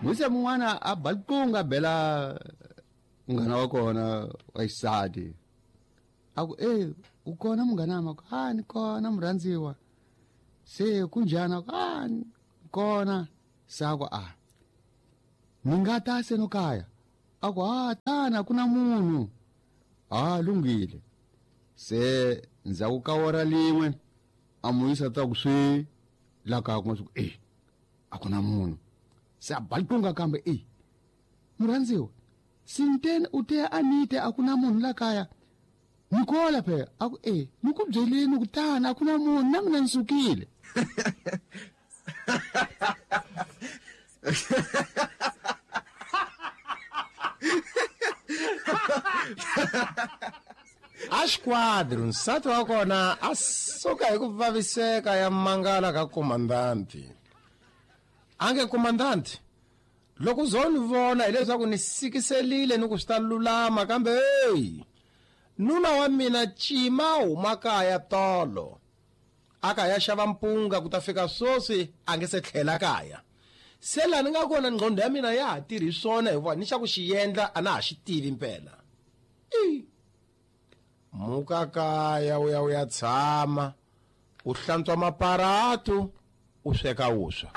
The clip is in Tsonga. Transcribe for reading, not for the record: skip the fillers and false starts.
Muyisa mun'wana a ba riqingho a bela munghana wa kona wa xisati a ku e u kona munghana ma ku a ni kona murhandziwa se kunjhani a ku a ni kona se a ku a ni nga ta se no kaya a ku a tana ku na munhu a lunghile se ndzhaku ka ora lin'we a muyisa ta ku swi la kaya kuma swi ku e a ku na munhu se a ba riqingho kambe e murhandziwa sinteni u te a nite a ku na munhu la kaya ni kola phela a ku e ni ku byeleni ku tana a ku na munhu na mina ni sukile. A xiquadro nsati wa kona a suka hi ku vaviseka ya mangala ka komandanti. A nge komandanti, loko zo ni vona hileswaku ni sikiselile ni ku swi ta lulama kambe heyi nuna wa mina cima huma kaya tolo a ka ya xava mpunga ku ta fika swoswi a nge se tlhela kaya se laha ni nga kona nqondo ya mina ya ha tirhi swona hikuva ni xa ku xi endla a na ha xi tivi mpela i muka kaya u ya u ya tshama u hlantswa maparatu u sweka wuswa.